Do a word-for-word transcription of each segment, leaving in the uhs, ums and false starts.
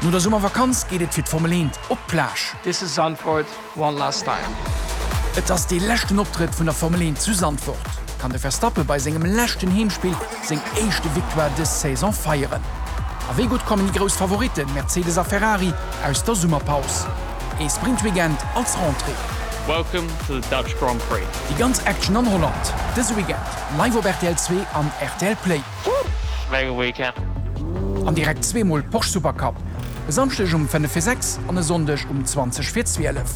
No der Summervakanz geet et fir d'Formel eent op d'Plage. This is Zandvoort, one last time. Et ass dee leschten Optrëtt vun der Formel eent zu Zandvoort. Kann de Verstappen bei sengem leschten Heemspill seng éischte Victoire dës Saison feieren? A wéi gutt kommen déi grouss Favoritten Mercedes a Ferrari aus der Summerpaus? Ee Sprintweekend als Rentrée. Welcome to the Dutch Grand Prix. Déi ganz Action an Holland dëse Weekend live op rtl zwee an rtl Play. Mega weekend. An direkt zweemol Porsche Supercup, e Samschdeg um fënnef vir sechs an e Sonndeg um zwanzeg vir zwielef.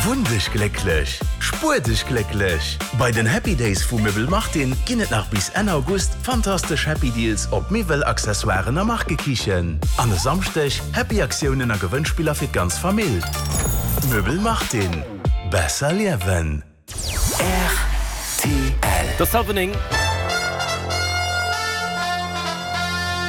Wunn dech glécklech, spuer dech glécklech! Bei den Happy Days vu Möbel Martin ginn et nach bis Enn August fantastesch Happy Deals op Miwwel, Accessoiren a Markekichen. An e Samschdeg Happy Aktiounen a Gewënnspiller fir d'ganz Famill. Möbel Martin, besser liewen! Rtl. Et ass hallwer néng.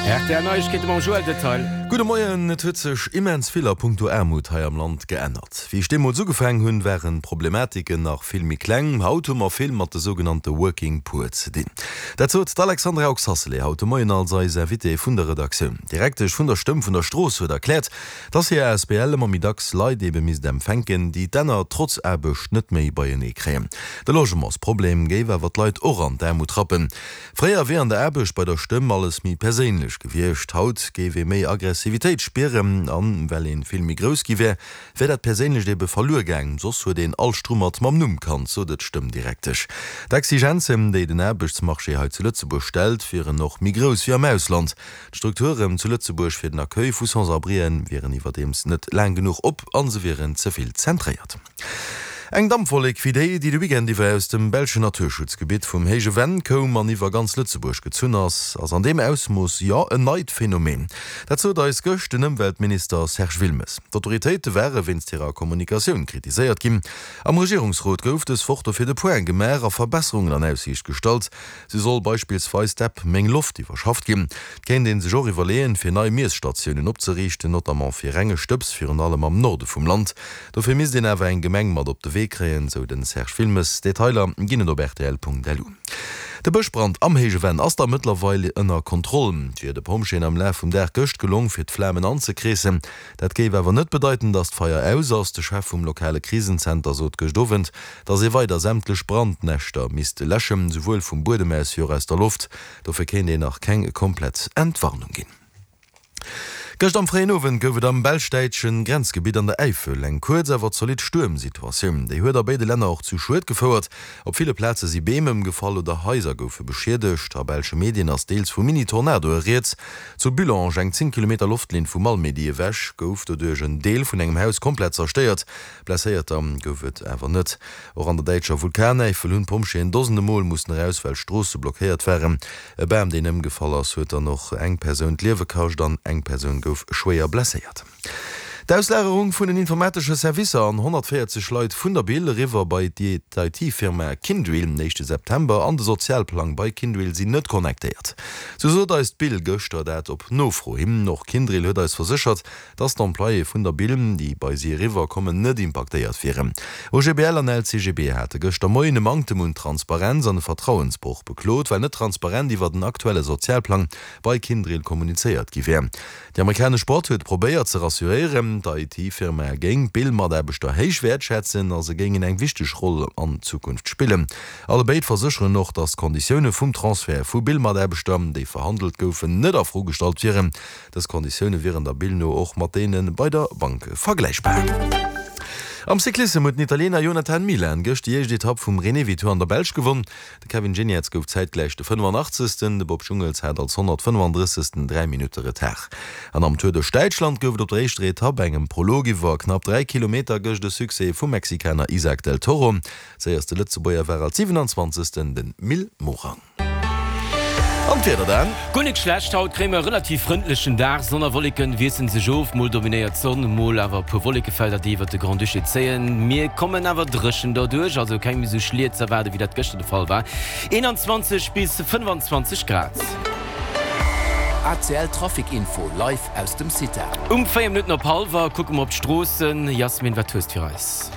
Rtl Neiegkeete mam Joël Detail. Gudde Moien, Et huet sech immens vill a punkto Aarmut hei am Land geännert. Wéi ech deemools ugefaangen hunn, waren d'Problematiken nach vill méi kleng. Haut hu mer vill mat de sougenannte Working Poor ze dinn. Dat sot d'Alexandra Oxacelay haut de Moien als eis Invitée vun der Redaktioun. D'Direktesch vun der Stëmm vun der Strooss huet erkläert, dass hir asbl ëmmer méi dacks Leit ebe misst empfänken, déi d'Enner trotz Aarbecht net méi beienee kréien. De Logementsproblem géif awer d'Leit och an d'Aarmut rappen. Fréier wier an der Aarbecht bei der Stëmm alles méi perséinlech gewiescht, haut géif ee méi Aggressivitéit spieren an well ee vill méi grouss gi wär, wär dat Perséinlecht ebe verluer gaang. Soss huet een all Strummert mam Numm kannt, sot et d'Stëmmdirektesch. D'Exigenzen, déi den Aarbechtsmarché hei zu Lëtzebuerg stellt, wieren och méi grouss wéi am Ausland. D'Strukturen zu Lëtzebuerg fir den Accueil vu Sans-abrien wieren iwwerdeems net laang genuch op a se wieren ze vill zentréiert. Eng Dampwollek wéi déi, déi de Weekend iwwer aus dem belschen Naturschutzgebitt vum Héije Venn koum an iwwer ganz Lëtzebuerg gezunn ass, ass an deem Ausmooss, jo, en neit Phänomen. Dat sot eis gëscht den Ëmweltminister Serge Wilmes. D'Autoritéite ware wéinst hirer Kommunikatioun kritiséiert ginn. Am Regierungsrot gouf dës Woch dofir de Point gemaach a Verbesserungen an Aussiicht gestallt. Sou soll beispillsweis d'App Meng Loft iwwerschafft ginn. Et kéint ee sech och iwwerleeën, fir nei Miesstatiounen opzeriichten, notamment fir renge Stëbs, virun allem am Norde vum Land. Dofir misst een awer eng Gemeng mat op de Wee kréien, sou den Serge Wilmes. Detailer ginn et op rtl.lu. De Bëschbrand am Héije Venn ass da mëttlerweil ënner Kontroll. Et wier de Pompjeeën am Laf vum Dag gëscht gelong, fir d'Flamen anzekreessen. Dat géif awer net bedeiten, datt d'Feier aus ass. De Chef vum lokale Krisenzenter sot gëscht Owend, datt ee weider sämtlech Brandnäschter misst läschen, souwuel vum Buedem aus wéi och aus der Loft. Dofir kéint een nach keng komplett Entwarnung ginn. Gëscht am fréien Owend gouf et am belsch-däitsche Grenzgebitt an der Äifel eng kuerz awer zolidd Stuermsituatioun. Déi huet a béide Länner och zu Schued gefouert. Op ville Plaze si Beem ëmgefall oder Haiser goufe beschiedegt. A belsche Medien ass deels vu Mini-Tornadoe rieds. Zu Bullange, eng zéng Kilometer Loftlinn vu Malmedy ewech, gouf doduerch en Deel vun engem Haus komplett zerstéiert. Blesséierter gouf et awer net. Och an der däitscher Vulkanäifel hunn d'Pompjeeën dosende Mol mussen eraus, well Stroosse blockéiert waren. E Bam, deen ëmgefall ass, huet dann och eng Persoun d'Liewe kascht an eng Persoun gouf schwéier blesséiert. D'Auslagerung vun den informatesche Servicer an honnertvéierzeg Leit vun der Bill eriwwer bei d'IT-Firma Kyndryl den éischte September an de Sozialplang bei Kyndryl sinn net connectéiert. Sou sot eis d'Bill gëschter dat op Nofro hin. Och Kyndryl huet eis verséchert, dass d'Employéë vun der Bill, déi bei si eriwwer kommen, net impaktéiert wieren. O G B L an L C G B hate gëschter Moien e Manktem un Transparenz an e Vertrauensbroch beklot, well net transparent iwwer den aktuelle Sozialplang bei Kyndryl kommunizéiert gi wär. Déi amerikanesch Boîte huet probéiert ze rassuréieren, d'I T-Firma géing d'Bill-Mataarbechter héich wäertschätzen a se géingen eng wichteg Roll an Zukunft spillen. Allebéid versécheren och, datt d'Konditioune vum Transfert vu Bill-Mataarbechter, déi verhandelt goufen, net a Fro gestallt wieren. Dës Konditioune wieren der Bill no och mat deene bei der Bank vergläichbar. Am Cyclissem huet den Italiener Jonathan Milan gëscht déi éischt Etapp vum Renewi Tour an der Belsch gewonn. De Kevin Geniets gouf zäitgläich de fënnefanachtzesten, de Bob Jungels hat als honnertfënnefandrëssegsten dräi Minutte Retard. An am Tour duerch Däitschland gouf et op der éischter Etapp, engem Prolog iwwer knapp dräi Kilometer, gëscht e Succès vum Mexikaner Isaac del Toro. Séierste Lëtzebuerger war als siwenanzwanzegsten den Mil Morang. An d'Wieder dann? Guer net schlecht, haut kréie mer e relativ frëndlechen Dag. Sonn a Wolleken wiesselen sech of, mol dominéiert d'Sonn, mol awer e puer Wollekefelder, déi iwwert de Grand-Duché zéien. Mir kommen awer dréchen derduerch, also keng méi sou Schliet z'erwaarden, wéi dat gëschter de Fall war. eenanzwanzeg bis fënnfanzwanzeg Grad. A C L Trafic Info live aus dem CITA. Um véier Minutten op hallwer kucke mer op d'Stroossen. Jasmin, wat hues de fir eis?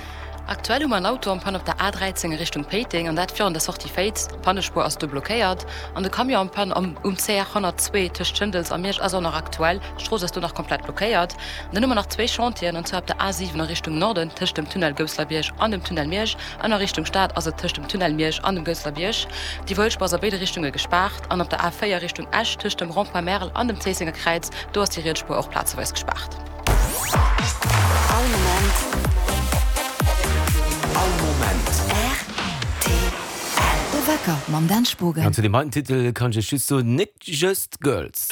Aktuell hu mer en Auto en panne op der A dräizéng a Richtung Péiteng, an dat virun der Sortie Féiz. D'Pannespuer ass do blockéiert. An de Camion en panne am um C R honnertzwee tëscht Schëndels a Miersch ass och nach aktuell. D'Strooss ass do nach komplett blockéiert. An dann hu mer nach zwee Chantieren, an zwar op der A siwen a Richtung Norden tëscht dem Tunnel Gousselerbierg an dem Tunnel Miersch, an a Richtung Stad ass et tëscht dem Tunnel Miersch an dem Gousselerbierg. D'Iwwerhuelspuer ass a béide Richtunge gespaart. An op der A véier Richtung Esch tëscht dem Rond-point Merl an dem Zéissenger Kräiz, do ass déi riets Spuer och plazeweis gespaart. All Moment. All Moment. R T L. De Wecker mam Dan Spogen. An zu deem heiten Titel kann ech iech just soen, Nick Just Girls.